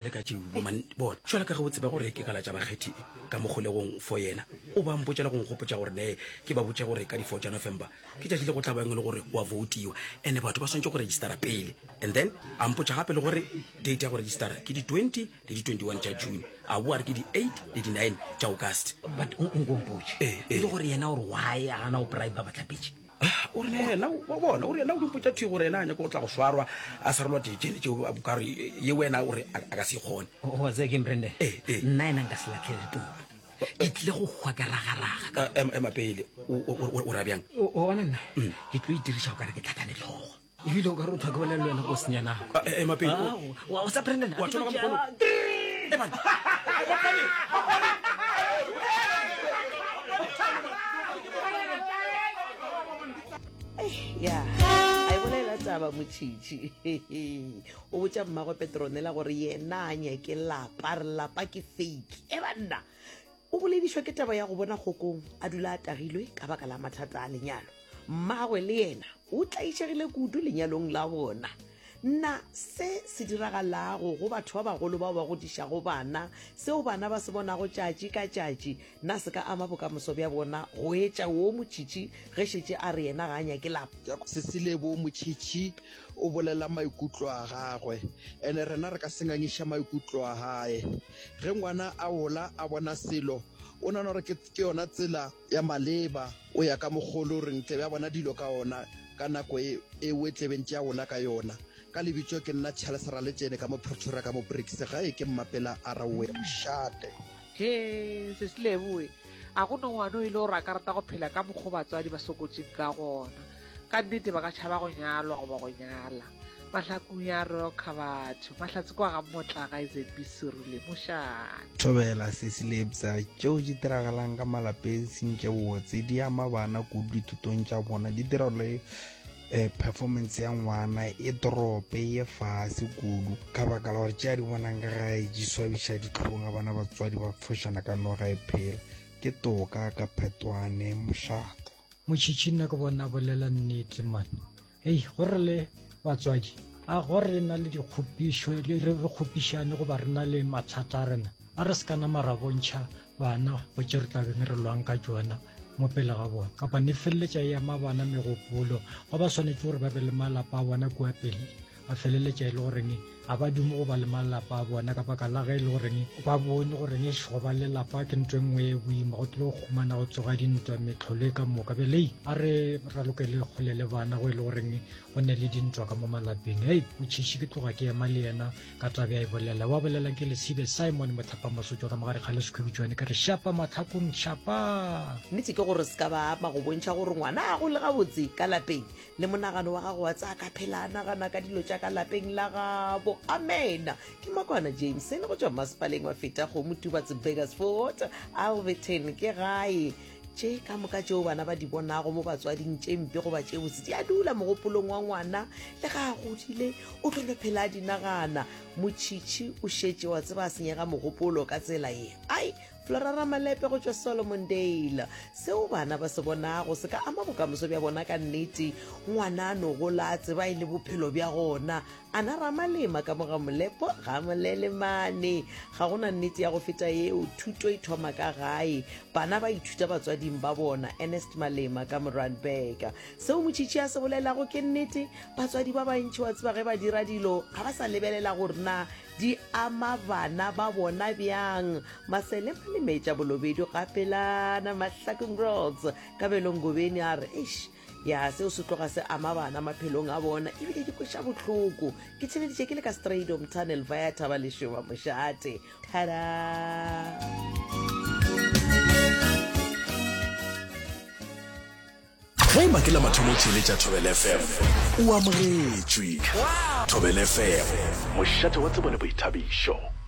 Le ka tšeo, bo man, bona. Jwale ka ge o tseba gore ke kala tša bakgethi ka mo kgolegong for yena, o ba mpotša le go nkgopotša gore nee ke ba botše gore ka di four tša November ke tšatši le go tla bang e le gore go a voutiwa and batho ba swanetše go registera pele. And then a mpotša gape le gore date ya go registera ke di 20 le di 21 tša June, a boa a re ke di eight le di nine tša August. But o nko mpotše, Ee, e ee. le gore yena o re why a gana go bribe bahlapetši? Ah, o re yena wa bona o re yena o dimpotša thwi gore yena a nyaka go tla go swarwa a sarelwa tšene tšeo ka re ye wena o re a ka se kgone. Wa tseba keng Brandon? Ee, ee. Nna yena nka se latlhele tulo. Ke tlile go hwa ke ragaraga. Ah, ema pele o ra bjang? O bona nna ke tlo itiriša o kare ke tlhakane tlhogo. Ebile o ka re o thwa ke bolela le wena go senya nako. Ah, ema pele. Wa o sa Brandon? Wa thoma ka mokgwa o. Ema. Ya, a e bolela taba Motšhitšhi. O botša mmagwe Petronella gore yena a nyake lapa, re lapa ke fake. E banna, o boledišwa ke taba ya go bona Kgokong a dula a tagilwe ka baka la mathata a lenyalo. Mmagwe le yena o tlaišegile kudu lenyalong la bona. Na se se diragalago go batho ba bagolo bao ba godišago bana, seo bana ba se bonago tšatši ka tšatši, na se ka ama bokamoso bja bona go etša wo Motšhitšhi ge šetše a re yena ga a nyake lapa? Sesilebo, Motšhitšhi o bolela maikutlo a gagwe, ene rena re ka se ngangiša maikutlo a gae. Ge ngwana a gola a bona selo, o nagana gore ke yona tsela ya maleba, o ya ka mokgwa o le goreng tlebe a bona dilo ka ona. Ka nako e, ewe tlebeng tša gola ka yona. Ka lebitso ke nna Charles Raletšene ka mo Pretoria ka mo Brits. Gae ke Mmapela Araoe Mošate. Hee, sesi Lebo we, a go no ngwana o e le gore a ka rata go phela ka mokgo batswadi ba sokotšeng ka gona. Ka nnete ba ka tšhaba go nyalwa goba go nyala. Mahlakung ya roka batho. Mahlatse kwa ga Mmotlaga ZB Serule mošate. Thobela, Sesi Lebza, tšeo di diragalang ka malapeng seng tše botse di ama bana kudu dithutong tša bona, di dira gore eh, performance ya ngwana e drope ye fase kudu ka baka la gore tše a di bonang ka gae di swabiša dihlong a bona batswadi ba fošana ka noga e phela. Ke toka ka phetwane mošate. Motšhitšhi nna ke bona a bolela nnete man. Hei, go re le batswadi, a go re na le dikgopišo, re re kgopišane goba re na le mathata a rena, a re se ka nama ra bontšha bana go tše re tla beng re lwang ka tšona mo pele ga bona. Kapa ne feleletša e ama bana megopolo, go ba swanetše gore ba be le malapa a bona kua pele, ba feleletša e le goreng ga ba dume go ba le malapa a bona ka baka la ge e le goreng ba bone goreng eš go ba lelapa ke ntho e nngwe e boima go tlile go humana go tsoga dintwa metlholo e ka moka bjale a re ralokele kgole le bana go e le goreng go ne le dintwa ka mo malapeng hei motšhiši ke tloga ke ema le yena ka tabe a e bolela wa bolelang ke lesibe simon motlhapa masotšwa ka mogare ga lesekhubitšwane ke re šapa matlhakong šapa Nnete ke gore se ka ba ama go bontšha gore ngwana a gole gabotse ka lapeng Le monagano wa gago wa tsaya ka phela a nagana ka dilo tša ka lapeng la gabo. Amena. Ke Makwana Jameson go tšwa masepaleng wa Feta Kgomo Tubatse Burgersfort, Alberton ke gae. Tše ka moka tšeo bana ba di bonago mo batswading tše mpe goba tše botse di a dula mogopolong wa ngwana le ga a godile o tlo no phela a di nagana. Motšhitšhi o šetše wa tseba a senyega mogopolo ka tsela ye. Ai, Flora Ramalepe go tšwa Solomondale. Seo bana ba se bonago se ka ama bokamoso bja bona ka nnete. Ngwana a no gola a tseba e le bophelo bja gona. Ana Ramalema ka mo ga Molepo ga Molelemane. Ga go na nnete ya go feta yeo. Thuto e thoma ka gae. Bana ba ithuta batswading ba bona. Ernest Malema ka mo Randburg. Seo Motšhitšhi a se bolelago ke nnete. Batswadi ba bantši wa tseba ge ba dira dilo ga ba sa lebelela gore na Di ama bana ba bona bjang? Masele Malemetša Bolobedu Gapelana Mahlakung Roads Kabelo Ngobeni a re, Eish, ya seo se tloga se ama bana maphelong a bona ebile di kweša bohloko. Ke theleditše ke le ka Strydom Tunnel via Thaba Lešoba Mošate. Thada! Ge e ba ke la mathomo o theeletša Thobela FM, o amogetšwe. Thobela FM, mošate wa tsebo le boithabišo.